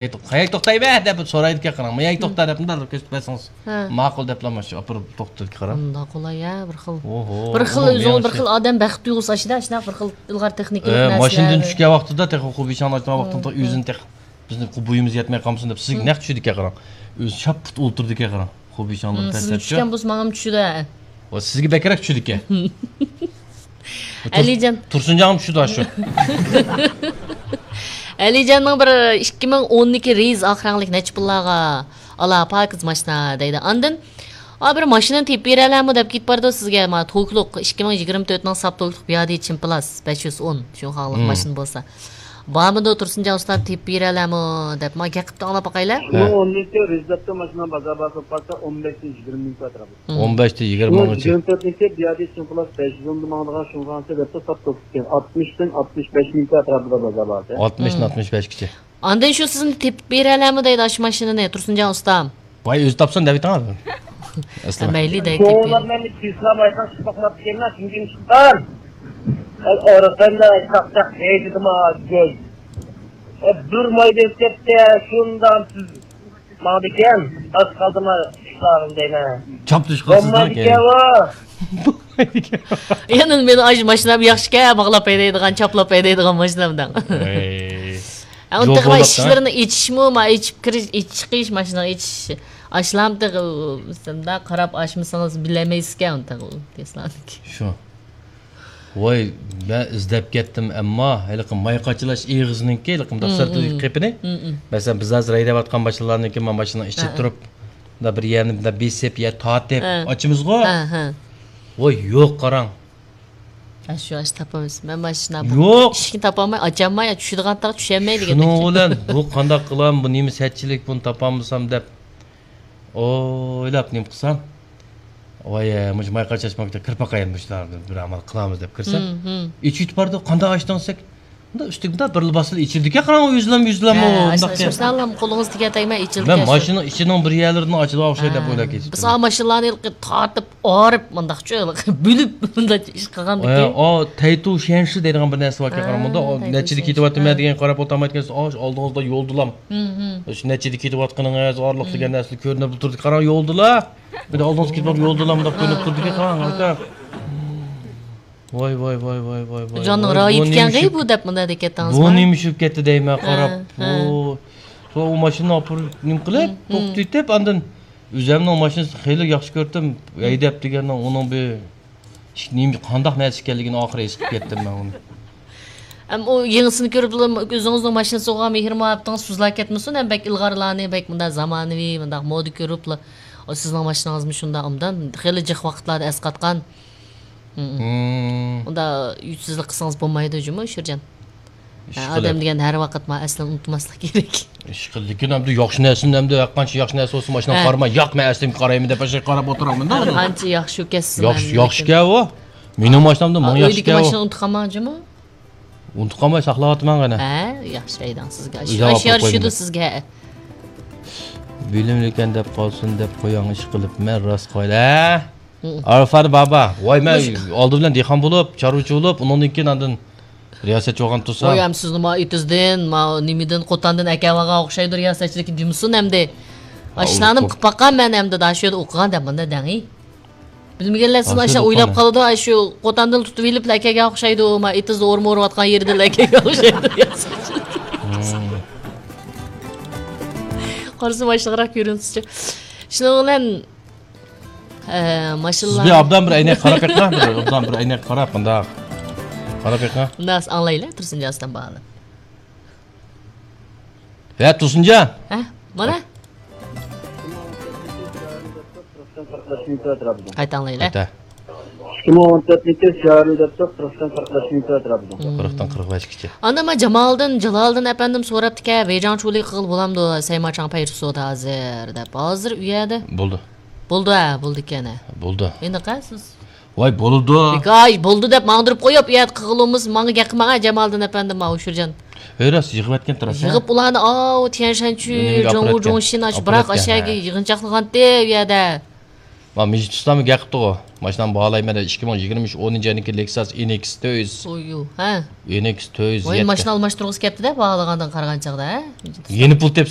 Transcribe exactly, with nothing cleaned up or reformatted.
قەيەرگە توختايمەن دەپ سورايدىكەن، قاراڭ. ماياڭ توختا دەپ مۇنداق كۆرسىتىپ بەرسىڭىز. ھە. ماقۇل دەپلا ماشىنا ئاپىرىپ توختىتىدىكەن، قاراڭ. مۇنداق قولاي ھە، بىر خىل. ئوھو، بىر خىل ئوھو، ئۆزىڭىز مېڭە بىر شۇ. خىل ئادەم بەخت تۇيغۇسى ئاشىدا، شۇنداق بىر خىل ئىلغار تېخنىكىلىق ئە، نەرسىلەر. ماشىنىدىن چۈشكەن ۋاقتىدا تېخى خۇبىشاڭ ئاچقان ۋاقتىدا ھە، ئۆزىنى تېخى بىزنىڭ بويىمىز يەتمەي قالمىسۇن دەپ سىزگە ھە. نەق چۈشىدىكەن، قاراڭ. ئۆزى شاپپۇت ئولتۇرىدىكەن، قاراڭ. خۇبىشاڭلار ھە، سىزگە پەسەتچە. چۈشكەن بولسا ماڭىمۇ چۈشىدۇ ھە. ۋە سىزگە بەكرەك چۈشىدىكەن. ئەلىجان. تۇرسۇنجانغىمۇ چۈشىدۇ شۇ. ئەلىجاننىڭ بىر ئىككى مىڭ ئونىكى رېيس ئاق رەڭلىك نەچچە پۇللارغا ئالا پاكىز ماشىنا دەيدۇ. ئاندىن، ئا، بىر ماشىنىنى تېپىپ بېرەلەمۇ دەپ كېتىپ بارىدۇ سىزگە. ما، توكلۇق، ئىككى مىڭ يىگىرمە تۆتنىڭ ساپ توكلۇق بىيادى چىمپلاس بەش يۈز ئون شۇڭخاڭلىق مم. ماشىنا بولسا. بارمىدۇ تۇرسۇنجان ئۇستام تېپىپ بېرەلەمۇ دەپ، ما، گەپ قىپتۇ، ئاڭلاپ باقايلى. شۇنىڭ ھە. ئون يېتى رېزېپتو ماشىنا بازار باھاسى بولۇپ قالسا، ئون بەشتىن يىگىرمە مىڭ ئەتراپىدا. مم. ئون بەشتىن يىگىرمە مىڭغىچە. يىگىرمە تۆتىنچى بىيادى چىمپلاس بەش يۈز ئوندا ماڭىدىغان شۇڭخاڭسى دەپتۇ ساپ توكلۇق ئىكەن. ئاتمىشتىن ئاتمىش بەش مىڭ ئەتراپىدا بازار باھاسى. ئاتمىشتىن مم. ئاتمىش بەشكىچە. ئاندىن شۇ سىزنى تېپىپ بېرەلەمۇ دەيدۇ ئاشۇ ماشىنىنى تۇرسۇنجان ئۇستام. ۋاي، ئۆزى تاپسۇن دەۋېتىڭ. ئەسلى. مەيلى دەيتتى. شۇڭلار مەن تېسلا بايقاش قىلماقچى ئىكەنمەن، چۈنكى ئىشقار. ئارقاندا چاقچاق دەيدىما گۆز. بىر مايدا ئۆتۈپ كەتتى، شۇنداق سىز ماڭىدىكەن، ئاز قالدىما ئىشقارىم دەيمەن. چاپلىشىپ قالسىز بولمايدىكەن ئۇ. يەنە مېنىڭ ئاشۇ ماشىنام ياخشىكەن، باغلاپ ھەيدەيدىغان، چاپلاپ ھەيدەيدىغان ماشىنام دەڭ. ئەي. ئۇنتۇغما ئىشىكلىرىنى ئېچىشمۇ، ما ئېچىپ كىرىش، ئېچىش چىقىش، ماشىنىنى ئېچىش. ئاشلامتىغ، شۇنداق قاراپ ئاشمىسىڭىز بىلەلمەيسىزكەن ئۇنتۇغ تېسلانىڭكى. شۇ. ۋاي، مەن ئىزدەپ كەتتىم، ئەمما ھېلىقى ماي قاچىلاش ئېغىزىنىڭكى، ھېلىقى مۇنداق سىرتىدىكى قېپىنى. مەسىلەن، بىز ھازىر ھەيدەۋاتقان ماشىنىلارنىڭكى، ما ماشىنىنىڭ ئىچىدە تۇرۇپ، مۇنداق بىر يەرنى مۇنداق بېسىپ، يا تارتىپ ئاچىمىزغۇ. ۋاي، يوق، قاراڭ. ھە، شۇ ئاشۇ تاپىمىز. مەن مانا شۇنداق بۇ يوق. ئىشىكنى تاپالماي، ئاچالماي، چۈشىدىغان تاغ چۈشەلمەي دېگەندەك. شۇنىڭ بىلەن بۇ قانداق قىلام، بۇ نېمە سەتچىلىك، بۇنى تاپالمىسام دەپ ئويلاپ نېمە قىلسام، ۋاي، مۇشۇ ماي قاچاش ماكتەپ كىرىپ باقايلى، مۇشۇلارنى بىر ئامال قىلامىز دەپ كىرسەم، ئېچىۋېتىپ بارىدۇ، قانداق ئاچتىڭ دېسەك، مۇنداق ئۈستىگە مۇنداق بىرلا باسسىلا ئېچىلىدىكەن، قاراڭ، ئۆزلەم، يۈزلەم، ھە، مۇنداق ئاشۇ، دەپ. ئاشۇ ساغلام قولىڭىز تېگەتەگمەي ئېچىلىدىكەن مەن شۇ. ماشىنا ئىچىنىڭ بىر يەرلىرىدىن ئاچىدىغان ئوخشايدۇ دەپ ھە. ئويلاپ كېتىپتىمەن. بىز ئا ماشىنىلارنى ھېلىقى تارتىپ، ئارىپ، مۇنداقچۇ، ھېلىقى بۆلۈپ، مۇنداق ئىش قىلغان ئە، بىكى. ئا، تەيتۇ شيەنشى دەيدىغان بىر نەرسە باركەن، ھە، قاراڭ، مۇنداق، ئا، تەيتۇ نەچچىدە شيەنشى. كېتىۋاتىمەن دېگەن قاراپ ئولتۇرمايدىكەنسىز، ئا، شۇ ئالدىڭىزدا يولدىلا. شۇ نەچچىدە كېتىۋاتقىنىڭىز، ئارىلىق دېگەن نەرسىلەر كۆرۈنۈپ تۇرىدۇ، قاراڭ، يولدىلا. بىر ئالدىڭىزدا كېتىۋاتقان يولدىلا، مۇنداق كۆرۈنۈپ تۇرىدىكەن، قاراڭ، ئاكا. ۋاي، ۋاي، ۋاي، ۋاي، ۋاي، ۋاي. جاننىڭ ۋاي، رايى بۇ ئىكەنغى نېمە بۇ دەپ مۇنداق دېكەتتىڭىزما؟ بۇ نېمە چۈشۈپ كەتتى دەيمەن، ھە، قاراپ. ھە. بۇ، سوڭ ئۇ ماشىنىنى ئاپىرىپ نېمە قىلىپ، توختىتىپ، ئاندىن ئۆزۈمنىڭ ماشىنىسىنى خېلى ياخشى كۆردۈم. ھەيدەپ دېگەننىڭ ئۇنىڭ بىر نېمە، قانداق نەرسە ئىكەنلىكىنى ئاخىرى ھېس قىلىپ كەتتىم مەن ئۇنى. ئەم، ئۇ يېڭىسىنى كۆرۈپلا ئۆزىڭىزنىڭ ماشىنىسىغا مېھىر-مۇھەببىتىڭىز سۇزۇلۇپ كەتمىسۇن، ھەم بەك ئىلغارلارنى، بەك مۇنداق زامانىۋى، مۇنداق مودا كۆرۈپلا، ئۇ سىزنىڭ ماشىنىڭىزمۇ شۇنداق ئوبدان، خېلى جىق ۋاقىتلاردا ئەسقاتقان. مم. ئۇنداق ئۈچسىزلىك قىلسىڭىز بولمايدۇ جۇمۇ، شىرجان. ھە، ئادەم دېگەن ھەر ۋاقىت ما ئەسلىنى ئۇنتۇماسلىق كېرەك. ئىشقىلىپ، لېكىن ئەمدى ياخشى نەرسىنى ئەمدى ھەر قانچە ياخشى نەرسە بولسا ماشىنىغا قارىماي، ياق، مەن ئەسلىمگە قارايمەن دەپ ئاشۇ قاراپ ئولتۇرامەن-دە. قانچە ياخشى ئۇكەسسىز ياخشى، ياخشىكەن ئۇ. مېنىڭ ماشىنامدا مىڭ ياخشىكەن ئۇ. ئۆيدىكى ماشىنىنى ئۇنتۇپ قالماڭ جۇمۇ. ئۇنتۇپ قالماي ساقلاۋاتىمەن غەنە. ھە، ياخشى ھەيدەڭ سىزگە. ئاشۇ، ئاشۇ يارىشىدۇ سىزگە. بىلىملىكەن دەپ قالسۇن دەپ قوياڭ ئىشقىلىپ، مەن راست قايىل. ھە؟ ئارىفات بابا، ۋاي، مەن ئالدى بىلەن دېھقان بولۇپ، چارۋىچى بولۇپ، ئۇنىڭدىن كېيىن ئاندىن رىياسەتچى بولغان تۇرسا. ۋاي، ئەم سىزنى ما ئېتىزدىن، ما نېمىدىن، قوتاندىن ئەكەۋالغان ئوخشايدۇ رىياسەتچىلىككە دېمىسۇن ئەمدى. ئاشۇلارنى قىلىپ باققان مەن ئەمدى، دا شۇ يەردە ئوقۇغان دەپ مۇنداق دەڭ. بىلمىگەنلەر سىزنى ئاشۇ ئويلاپ قالىدۇ، ئاشۇ قوتاندىن تۇتۇۋېلىپلا ئەكەلگەن ئوخشايدۇ، ما ئېتىزدا ئورما ئورۇۋاتقان يېرىدىلا ئەكەلگەن ئوخشايدۇ. قارىسا ماشىنىغىراق كۆرۈنسىچۇ. شۇنىڭ بىلەن، ئە، ماشىنىلار. سىز بىر ئوبدان بىر ئەينەك قاراپ بېقىڭ، بىر ئوبدان بىر ئەينەك قاراپ، مۇنداق. قاراپ بېقىڭ. مۇنداق ئاڭلايلى، تۇرسۇنجان ئاستان باغلىنىپ. ھە، تۇرسۇنجان. ھە، مانا. قايتا ئاڭلايلى. قايتا. ئىككى مىڭ ئون تۆتىنچى شارى دەپتۇ، قىرىقتىن قىرىق بەش مىنۇت ئەتراپىدا. قىرىقتىن قىرىق بەشكىچە. ئاندىن ما جامالىدىن، جالالىدىن ئەپەندىم سوراپتىكەن، ۋېيجاڭ چۇلى قىغىل بولامدۇ، سەيماچاڭ پەيرۇ سودا ھازىر دەپ. ھازىر ئۇ يەردە. بولدى. بولدى، ھە، بولدىكەن، ھە. بولدى. ئېنىق، ھە، سىز. ۋاي، بولىدۇ. بىكاي، بولدى دەپ ماڭدۇرۇپ قويۇپ، ئۇ يەردە قىغىلىمىز، ماڭا گەپ قىلماڭ، ھە، جامالىدىن ئەپەندىم، ما ئۇشۇرجان. ھەي راست، يىغىۋەتكەن تۇراسەن. يىغىپ ئۇلارنى، ئاۋۇ، تيەنشەنچۈ، جوڭۋۇ جوڭشىن، ئاشۇ بىراق ئاشۇ يەرگە يىغىنچاقلىغانتى ئۇ يەردە. ما مىجىت ئۇستام گەپ قىپتىغۇ. ماشىنامنى باھالايمەن دە، ئىككى مىڭ يىگىرمە ئۈچ ئونىنچى يىلنىڭكى لېكساس ئېنېكس تۆت يۈز. سويۇ ھە. ئېنېكس تۆت يۈز. ۋاي، ماشىنا ئالماشتۇرغۇسى كەپتىدە، باھالىغاندىن قارىغانچاغدا ھە. يەنە پۇل تېپىسىز.